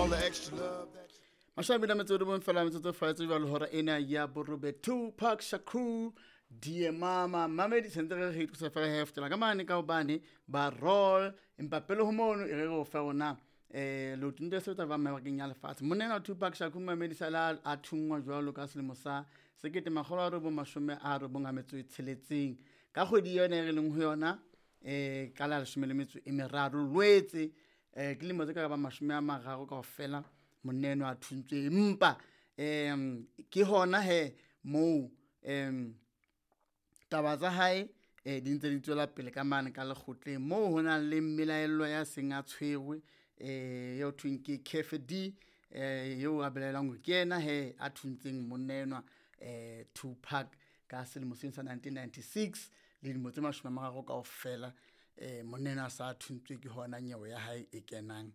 All the extra love that 28 fela metsotso faetse jalo hora ena ya borobe. Tupac Shakur, Dear Mama. Mamedi sentse re re ithusa fela he fetela ka mane ka hobane ba roll, empa pele ho mono e re re o fe rona leoto ntse sebetsa ba mabakeng ya lefatshe. Monna enwa Tupac Shakur, mamedi, sala a thunngwa jwalo ka selemo sa 1996 ka kgwedi yona e re leng ho yona, ka la 13 Lwetse. Ke lemo tse ka bang 30 kaofela monna enwa a thuntswe, empa ke hona he moo taba tsa hae di ntse di tswela pele ka mane ka lekgotleng, moo ho nang le mmelaellwa ya seng a tshwerwe, eo thweng ke Cafe D, eo a belaelwang hore ke yena he a thuntseng monna enwa Tupac ka selemo seno sa 1996. Le dilemo tse 30 kaofela monna enwa a sa thuntswe, ke hona nyewe ya hae e kenang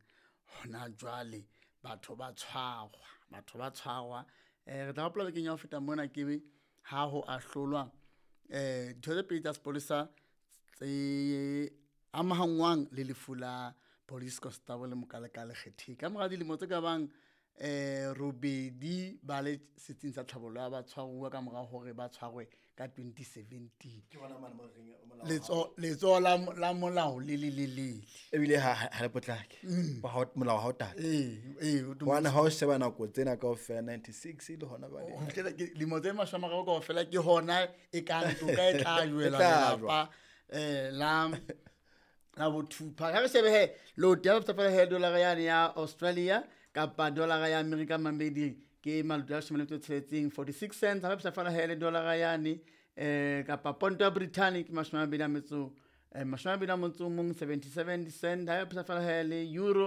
hona jwale. Batho ba tshwarwa, batho ba tshwarwa. Re tla hopola bekeng ya ho feta mona ke ha ho ahlolwa ditho tse pedi tsa sepolesa tse amahangwang le lefu la police constable Mokalekale Kgetheng ka mora dilemo tse ka bang 8 ba le setsing sa tlhabollo ya batshwaruwa ka mora hore ba tshwarwe ka 2017. Letsoho la molao le le lelele. Ebile ha le potlake. Molao ha o tate. Ee, o Hobane ha o sheba nako tsena kaofela, 96 le hona jwale. Ho fihlela ke lemo tse 30 kaofela ke hona e kang toka e tla jwela E tla jwa. lelapa la bo Tupac. Ha re shebe he loto ya fela he dollar yane ya Australia kapa dollar ya America, mamedi, ke maloto a 16, 46 cents. Ha re fela he le dollar yane kapa ponto ya Britain ke 21, 21, 77 cent. Ha re fela he le euro.